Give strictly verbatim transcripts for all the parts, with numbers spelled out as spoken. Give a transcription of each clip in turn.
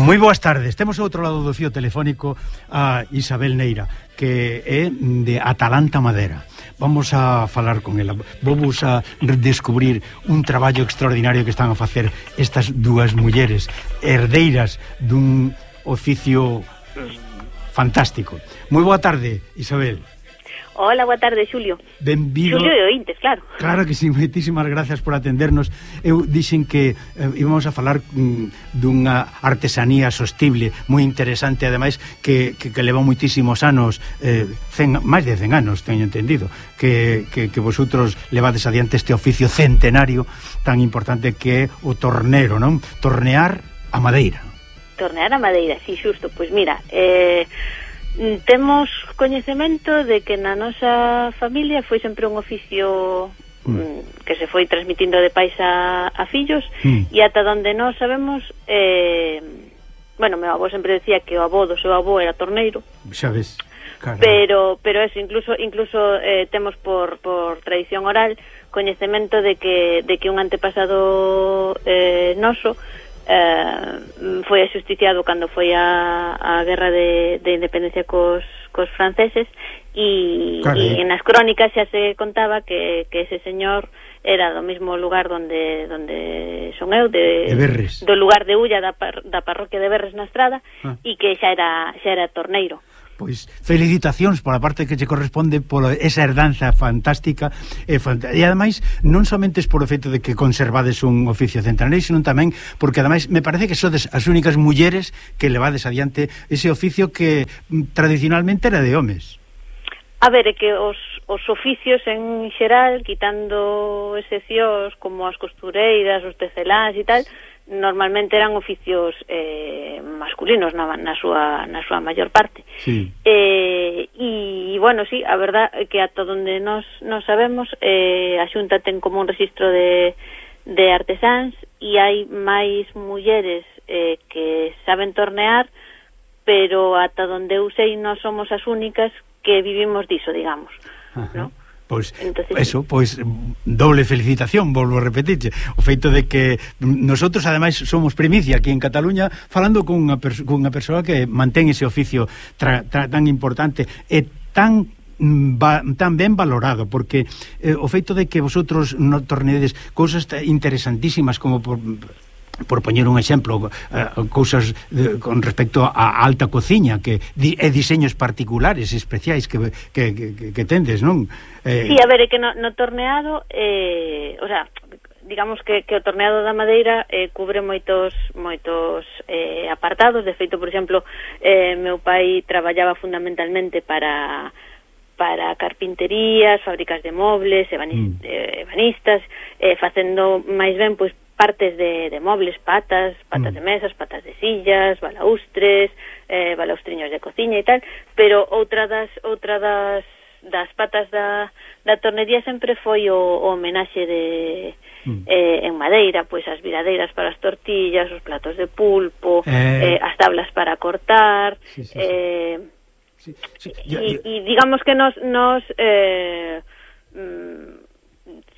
Moi boas tardes. Temos ao outro lado do fío telefónico a Isabel Neira, que é de Atalanta Madera. Vamos a falar con ela. Vamos a descubrir un traballo extraordinario que están a facer estas dúas mulleres herdeiras dun oficio fantástico. Moi boa tarde, Isabel. Hola, boa tarde, Xulio. Benvido. Xulio de Ointes, claro. Claro que sí, moitísimas gracias por atendernos. Eu dixen que eh, íbamos a falar mm, dunha artesanía sostible moi interesante, ademais que, que, que leva moitísimos anos, eh, cen, máis de cen anos, teño entendido, que, que, que vosotros levades adiante este oficio centenario tan importante que é o tornero, non? Tornear a madeira. Tornear a madeira, sí, xusto. Pois mira, eh... temos coñecemento de que na nosa familia foi sempre un oficio mm. que se foi transmitindo de pais a, a fillos mm. e ata donde nós sabemos eh, bueno, meu avó sempre decía que o avó do seu avó era torneiro, xa ves, caramba. pero pero eso, incluso incluso eh, temos por, por tradición oral coñecemento de que, de que un antepasado eh, noso Uh, foi axusticiado cando foi a, a guerra de, de independencia cos, cos franceses e, e nas crónicas xa se contaba que, que ese señor era do mesmo lugar donde donde son eu, de, de do lugar de Ulla da, par, da parroquia de Berres na Estrada ah. e que xa era, xa era torneiro. Pois felicitacións pola parte que che corresponde pola esa herdanza fantástica e, fant e ademais non somente por o feito de que conservades un oficio centenario, sino tamén porque ademais me parece que sodes as únicas mulleres que levades adiante ese oficio que tradicionalmente era de homes. A ver, é que os, os oficios en xeral, quitando excepcións como as costureiras, os teceláns e tal, normalmente eran oficios eh, masculinos na, na súa na súa maior parte. Sí. Eh, e bueno, sí, a verdad é que ata onde nos nos sabemos, eh, a Xunta ten como un registro de de artesáns e hai máis mulleres eh, que saben tornear, pero ata onde eu sei non somos as únicas que vivimos diso, digamos, ¿no? Pois, entonces, eso, pois doble felicitación, volvo a repetirche o feito de que nosotros ademais somos primicia aquí en Cataluña falando con unha, perso con unha persoa que mantén ese oficio tra tra tan importante e tan Va, tan ben valorado, porque eh, o feito de que vosotros no tornedes cousas interesantísimas como por por poñer un exemplo, uh, cousas de, con respecto á alta cociña que di, e diseños particulares especiais que, que, que, que tendes, non? Eh... Sí, a ver, é que no, no torneado eh, o sea, digamos que, que o torneado da madeira eh, cubre moitos moitos eh, apartados. De feito, por exemplo, eh, meu pai traballaba fundamentalmente para para carpinterías, fábricas de mobles, ebanistas, mm. eh, ebanistas eh, facendo máis ben, pois, partes de, de mobles, patas, patas mm. de mesas, patas de sillas, balaustres, eh, balaustriños de cociña e tal, pero outra das outra das das patas da, da tornería sempre foi o, o homenaxe de mm. eh, en madeira, pois as viradeiras para as tortillas, os platos de pulpo, eh... Eh, as tablas para cortar, sí, sí, eh, sí. Sí, sí. Yo, yo... E, e digamos que nos nos eh, mm,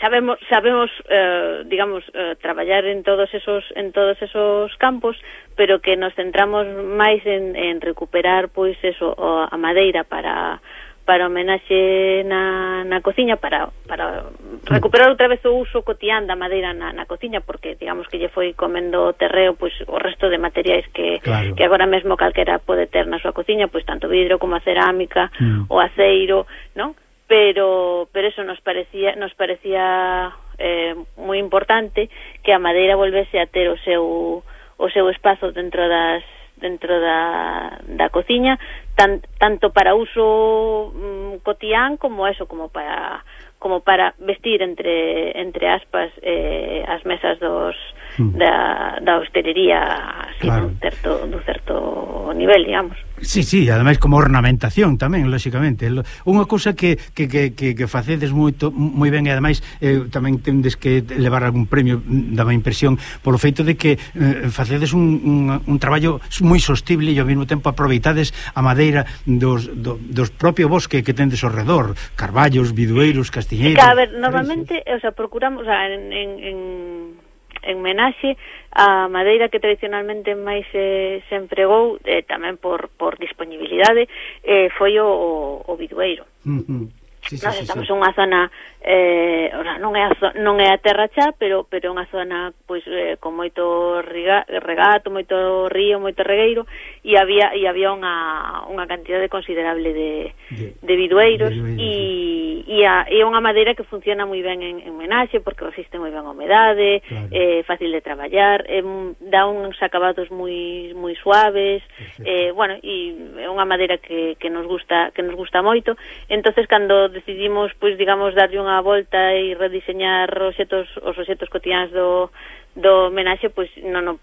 sabemos sabemos eh, digamos eh, traballar en todos esos en todos esos campos, pero que nos centramos máis en, en recuperar pois eso a madeira para para homenaxe na, na cociña, para, para recuperar outra vez o uso cotián da madeira na, na cociña, porque digamos que lle foi comendo terreo pois o resto de materiais que, claro. que agora mesmo calquera pode ter na súa cociña, pois tanto vidro como a cerámica, mm. o aceiro, non? Pero pero eso nos parecía nos parecía eh, moi importante que a madeira volvese a ter o seu o seu espazo dentro das dentro da, da cociña, tan, tanto para uso mm, cotián como eso, como para como para vestir entre entre aspas eh, as mesas dos mm. da, da hostelería así, claro. dun certo, dun certo nivel, digamos. Sí, sí, ademais como ornamentación tamén, lóxicamente. Unha cousa que, que, que, que, que facedes moito, moi ben, e ademais eh, tamén tendes que levar algún premio, daba impresión, polo feito de que eh, facedes un, un, un traballo moi sostible e ao mesmo tempo aproveitades a madeira dos, do, dos propio bosque que tendes ao redor, carballos, bidueiros, castiñeiros. A ver, normalmente, o sea, procuramos, o sea, en, en, en en menaxe a madeira que tradicionalmente máis eh, se empregou, eh, tamén por, por disponibilidade, eh, foi o, o bidueiro. Uh-huh. Sí, sí, Nós sí, estamos sí. en unha zona eh, ora, non é a zo, non é a terra xa, pero pero é unha zona pois eh, con moito riga, regato, moito río, moito regueiro, e había e había unha unha cantidade considerable de de, de bidueiros, e e é unha madeira que funciona moi ben en, en menaxe porque resiste moi ben a humedade, claro. É fácil de traballar, é, dá uns acabados moi moi suaves, eh, bueno, e é unha madeira que, que nos gusta que nos gusta moito. Entonces cando decidimos, pois, digamos, darlle unha volta e rediseñar os xetos, os obxetos cotiáns do, do menaxe, pois, non, non,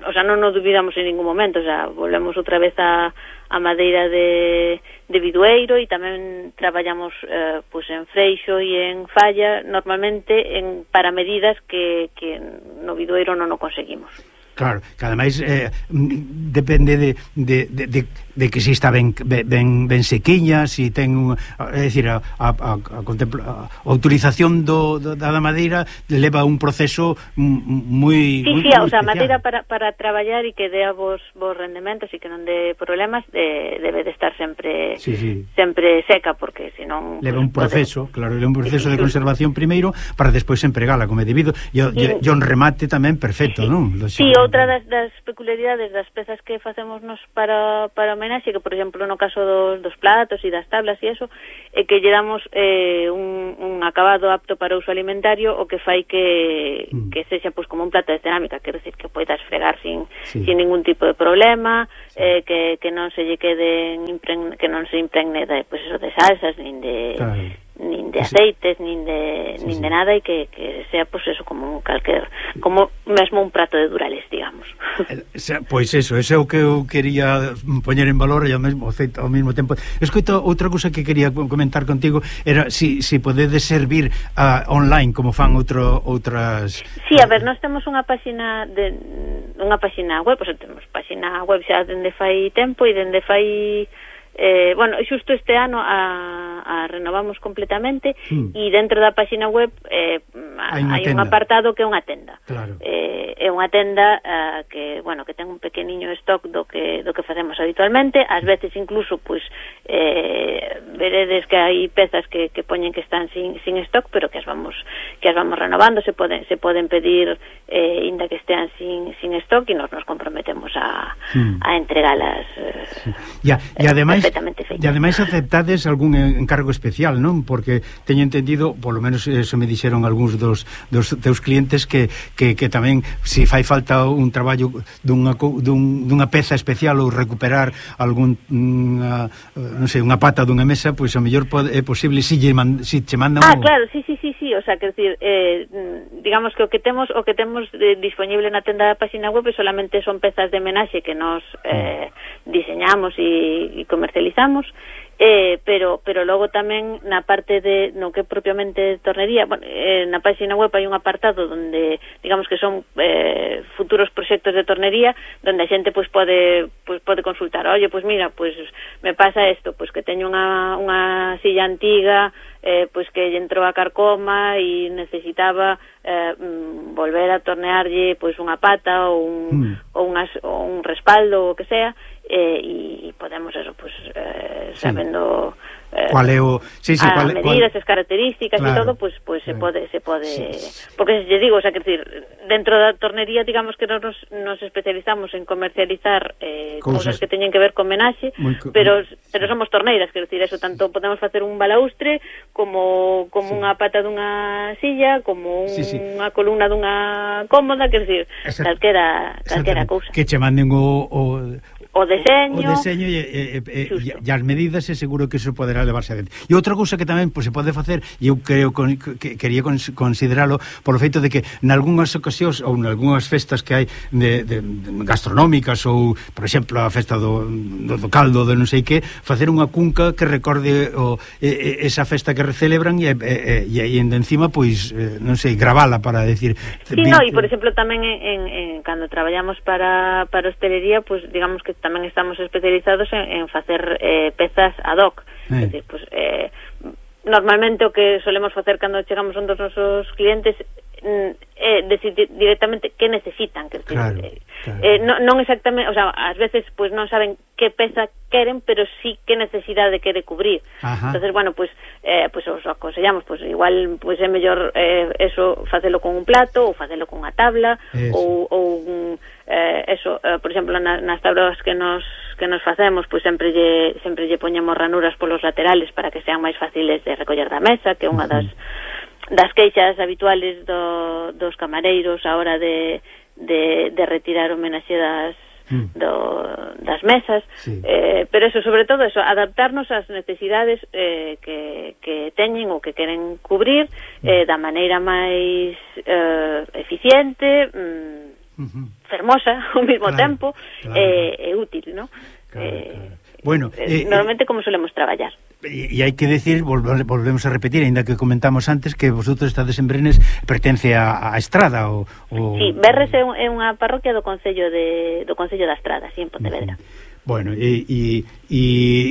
o sea, non nos dubidamos en ningún momento, o sea, volvemos outra vez a, a madeira de, de bidueiro, e tamén traballamos, eh, pois, en freixo e en falla, normalmente, en, para medidas que, que no bidueiro non o conseguimos. Claro, que ademais eh, depende de, de, de, de, de que si está ben, ben, ben sequiña, si ten un, é dicir, a, a, a, a, a, a utilización do, do, da madeira leva un proceso moi sí, moi, sí, moi o sea, especial. Madeira para, para traballar e que dea vos, vos rendementos e que non dé problemas, de, debe de estar sempre sí, sí. sempre seca, porque senón leva un proceso, pode... claro, leva un proceso sí, de conservación primeiro para despois empregala como é debido, e o sí. un remate tamén perfecto, sí. non? Sí, outra das, das peculiaridades das pezas que facemos nos para, para homenaxe, que por exemplo no caso dos, dos platos e das tablas e eso, é que lle damos eh, un, un acabado apto para uso alimentario, o que fai que, mm. que sexa pois como un plato de cerámica, quero decir que poidas fregar sin, sí. sin ningún tipo de problema, sí. eh, que, que non se lle queden impregne, que non se impregne de, pues eso, de salsas, nin de... Claro. nin de aceites, nin de sí, nin de sí. nada, e que, que sea pues eso, como un calquer, como mesmo un prato de Durales, digamos. Pois eso, ese é o que eu quería poñer en valor, e ao mesmo, ao mesmo tempo. Escoito, outra cousa que quería comentar contigo era si, si podedes servir uh, online como fan outro, outras... Sí, a ver, nós temos unha páxina de unha páxina web, pois temos páxina web xa dende fai tempo, e dende fai Eh, bueno, xusto este ano a, a renovamos completamente, mm. e dentro da páxina web eh, hai, hai un apartado que é unha tenda. Claro. Eh, é unha tenda uh, que, bueno, que ten un pequeniño stock do que do que facemos habitualmente, ás veces incluso pois eh, veredes que hai pezas que, que poñen que están sin, sin stock, pero que as vamos que as vamos renovando, se poden se poden pedir eh, inda que estean sin sin stock, e nos nos comprometemos a mm. a entregalas. Eh, sí. Ya, e ademais e ademais aceptades algún encargo especial, non? Porque teño entendido, polo menos eso me dixeron algúns dos, dos teus clientes, que, que, que tamén se fai falta un traballo dunha, dun, dunha peza especial, ou recuperar algún unha, non sei, unha pata dunha mesa, pois a mellor pode, é posible si, lle man, si che mandan. Ah, o... claro, sí, sí, sí, sí, o sea, quer decir, eh, digamos que o que temos o que temos eh, disponible na tenda da páxina web solamente son pezas de menaxe que nos eh, diseñamos e, e comercializamos, eh, pero pero logo tamén na parte de no que propiamente tornería, bueno, eh, na página web hai un apartado onde digamos que son eh, futuros proxectos de tornería, onde a xente pois pode pois pode consultar, oye, pois mira, pois me pasa isto, pois que teño unha unha silla antiga, eh, pois que lle entrou a carcoma e necesitaba eh, volver a tornearlle pois unha pata ou un, mm. ou, unhas, ou un respaldo ou o que sea, eh, e podemos eso, pues, eh, sí. sabendo eh, cuál é o sí, sí, a cuál, medidas, cuál... as características, claro. E todo, pues, pues se pode se pode sí. porque se digo, o sea, que decir, dentro da tornería, digamos que nos nos especializamos en comercializar eh, cousas que teñen que ver con menaxe, co... pero pero somos torneiras, quero decir, eso tanto podemos facer un balaustre como como sí. unha pata dunha silla, como un, sí, sí. unha columna dunha cómoda, quero decir, Exact... calquera calquera cousa. Que che manden o, o o deseño, o deseño e, e, e, e as medidas, e seguro que iso poderá levarse a dentro. E outra cousa que tamén pues, se pode facer, e eu creo con, que quería consideralo polo feito de que nalgúnas ocasións ou nalgúnas festas que hai de, de, de gastronómicas, ou por exemplo a festa do, do, do caldo de non sei que, facer unha cunca que recorde o, e, esa festa que recelebran, e, e, e, e encima pois non sei, gravala para decir sí, no, e por exemplo tamén en, en, en, cando traballamos para, para hostelería, pues digamos que tamén estamos especializados en, en facer eh, pezas ad hoc. Eh. Es decir, pues, eh, normalmente o que solemos facer cando chegamos a un dos nosos clientes eh, decir directamente que necesitan, que claro, eh, claro. Eh, non, non exactamente, o sea, ás veces pues non saben que peza queren, pero sí que necesidade quere cubrir. Ajá. Entonces, bueno, pues eh, pues os aconsellamos, pues igual pues é mellor eh, eso facelo con un plato ou facelo con unha tabla ou, ou un, eh, eso, eh, por exemplo, na, nas tablas que nos que nos facemos, pues sempre lle sempre lle poñemos ranuras polos laterales para que sean máis fáciles de recoller da mesa, que é unha das das queixas habituales do, dos camareiros a hora de, de, de retirar o menaxe das, mm. do, das mesas, sí. eh, pero eso, sobre todo eso, adaptarnos ás necesidades eh, que, que teñen ou que queren cubrir eh, da maneira máis eh, eficiente, mm, uh-huh. fermosa ao mesmo claro, tempo claro, eh, claro. e útil, ¿no? Claro, eh, claro. Bueno, eh, normalmente como solemos traballar. E hai que decir, volvemos a repetir, aínda que comentamos antes, que vosotros estades en Brenes, pertence a, a Estrada o, o... Sí, Berres é, un, é unha parroquia do Concello de do Concello da Estrada, así en Pontevedra. Uh-huh. Bueno, e, e, e,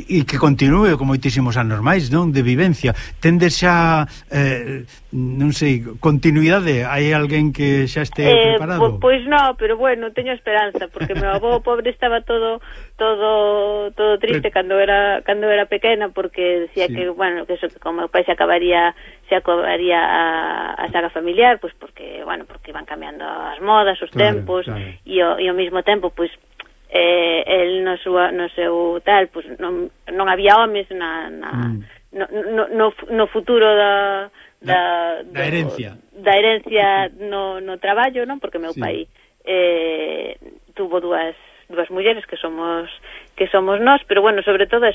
e que continúe con moitísimos anos máis, non? De vivencia. Tendes xa, eh, non sei, continuidade? Hai alguén que xa este eh, preparado? Po, pois non, pero bueno, teño esperanza, porque meu avó pobre estaba todo todo todo triste pero... cando era cando era pequena, porque decía sí. que, bueno, que eso, que como meu pai se acabaría se acabaría a, a saga familiar, pois porque, bueno, porque iban cambiando as modas, os claro, tempos, claro. e ao, e ao mesmo tempo, pois eh, el no seu, no seu tal, pues, non, non había homes na, na, mm. no, no, no, no futuro da, da, da, da herencia da herencia no, no traballo, non? Porque meu sí. pai eh, tuvo dúas dúas mulleres que somos que somos nós, pero bueno, sobre todo eso,